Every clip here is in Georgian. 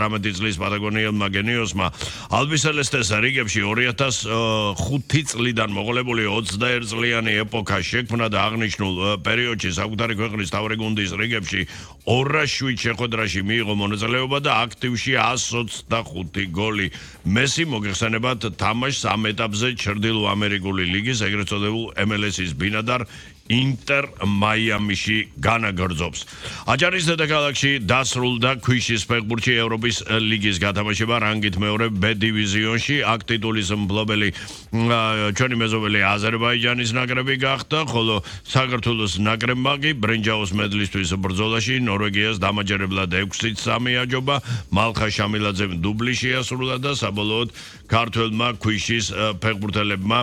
18 წლის პატაგონიელმა გენიოსმა ალბისელესტეს რიგებში 2005 წლიდან მოყოლებული 21 წლიანი ეპოქა შექმნა და აღნიშნულ პერიოდში საკუთარი ქვეყნის თავი გუნდის რიგებში 207 შეხვედრაში მიიღო მონაწილეობა და აქტივში 125 გოლი. მესი მოგეხსენებათ თამაშს ამ ეტაპზე ჩრდილო ამერიკული ლიგის ეგრეთ წოდებულ MLS-ის ბინადარ ინტერ მაიამიში განაგრძობს. აჭარის დედაქალაქში დასრულდა ქვიშის ფეხბურთში ევროპის ლიგის გათამაშება რანგით მეორე B დივიზიონში. აქ ტიტულის მფლობელი ჩვენი მეზობელი აზერბაიჯანის ნაკრები გახდა, ხოლო საქართველოს ნაკრებმა კი ბრინჯაოს მედლისთვის ბრძოლაში ნორვეგიას დამაჯერებლად 6-3 აჯობა. მალხა შამილაძემ დუბლი შეასრულა და საბოლოოდ ქართველმა ქვიშის ფეხბურთელებმა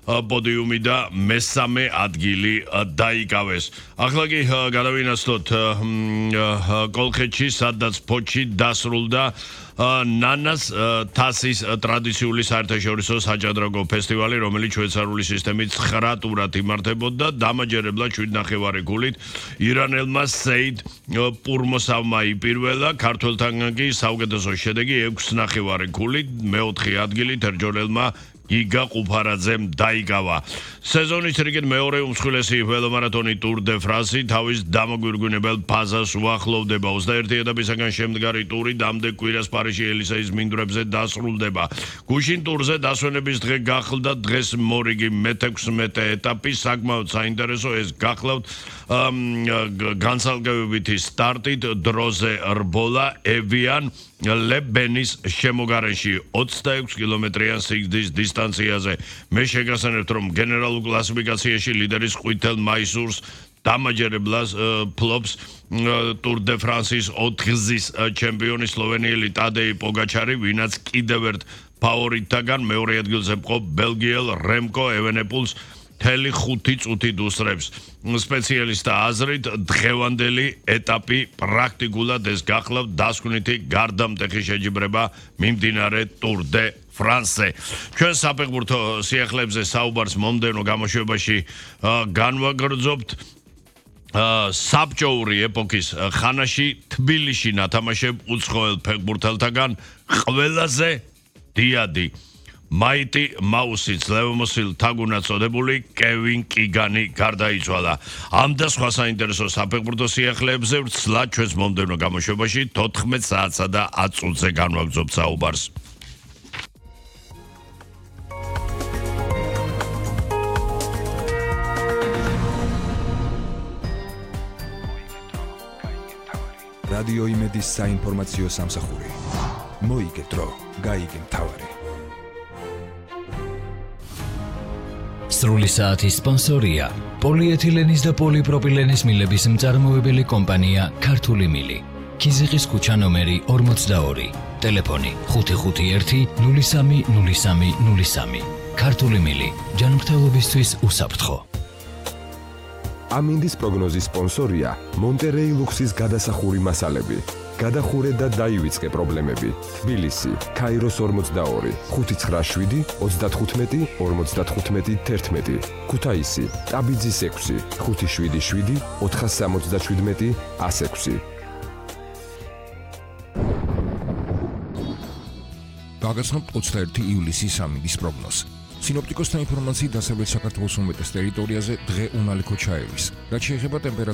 პოდიუმი და მესამე ადგილი დაიკავეს. ახლა კი გადავინაცვლოთ კოლხეთში, სადაც ფოთში დასრულდა ნანას თასის ტრადიციული საერთაშორისო საჭადრაკო ფესტივალი, რომელიც შვეიცარიული სისტემით 9 ტურად იმართებოდა. დამაჯერებლად 7.5 გულით ირანელმა სეიდ პურმოსავმა იპირველა, ქართველთან კი საუკეთესო შედეგი 6.5 გულით, მეოთხე ადგილი თერჯოლელმა იგა ყუფარაძემ დაიკავა. სეზონის რიგით მეორე უმსხვილესი ველომარათონი ტურ დე ფრანსი თავის დამოგვირგვინებელ ფაზას უახლოვდება. 21 ეტაპისაგან შემდგარი ტური დამდე კვირას პარიზში ელისეის მინდვრებზე დასრულდება. გუშინ ტურზე დასვენების დღე გახლდა დღეს მორიგი მე-16 ეტაპი. საკმაოდ საინტერესო ეს გახლავთ განსალკევებითი სტარტით დროზე რბოლა ევიან ლებენის შემოგარენში 26 კილომეტრიან სიგრძის დისტანციაზე. მე შეგახსენებთ, რომ გენერალურ კლასიფიკაციაში ლიდერის ყვითელ მაისურს დამაჯერებლად ფლობს ტურ დე ფრანსის 4-გზის ჩემპიონი სლოვენიელი ტადეი პოგაჩარი, ვინაც კიდევ ერთ ფავორიტთაგან მეორე ადგილზე მყოფ ბელგიელ რემკო ევენეპულს მთელი 5 წუთით უსწრებს. სპეციალისტთა აზრით დღევანდელი ეტაპი პრაქტიკულად ეს გახლავთ დასკვნითი გარდამტეხი შეჯიბრება მიმდინარე ტურ დე ფრანსზე. ჩვენ საფეხბურთო სიახლეებზე საუბარს მომდევნო გამოშვებაში განვაგრძობთ. საბჭოური ეპოქის ხანაში თბილისში ნათამაშებ უცხოელ ფეხბურთელთაგან ყველაზე დიადი მაიტი მაუსი ძლევმოსილ თაგუნად წოდებული კევინ კიგანი გარდაიცვალა. ამ და სხვა საინტერესო საფეხბურთო სიახლეებზე ვცლად ჩვენს მომდევნო გამოშვებაში 14 საათსა და 10 წუთზე განვაგრძობთ საუბარს. რადიო იმედის საინფორმაციო სამსახური. მოიგე დრო, გაიგე მთავარი. სრული საათის სპონსორია პოლიეთილენის და პოლიპროპილენის მილების მწარმოებელი კომპანია ქართული მილი. ქიზიყის ქუჩა ნომერი 42. ტელეფონი 551 030303. ქართული მილი. ჯანმრთელობისთვის უსაფრთხო. ამინდის პროგნოზის სპონსორია მონტერეი ლუქსის გადასახური მასალები. გადახურე და დაივიწყე პრობლემები. თბილისი, ქაიროს 42, 597, 35, 55, 11. ქუთაისი, ტაბიძის 6, 577, 477, 106. გაგაცნობთ 21 ივლისის ამინდის პროგნოზს. სინოპტიკოსთა ინფორმაციით დასავლეთ საქართველოს უმეტეს ტერიტორიაზე დღე უნალიქო ჩაევის. რაც შეეხება ტემპერატურას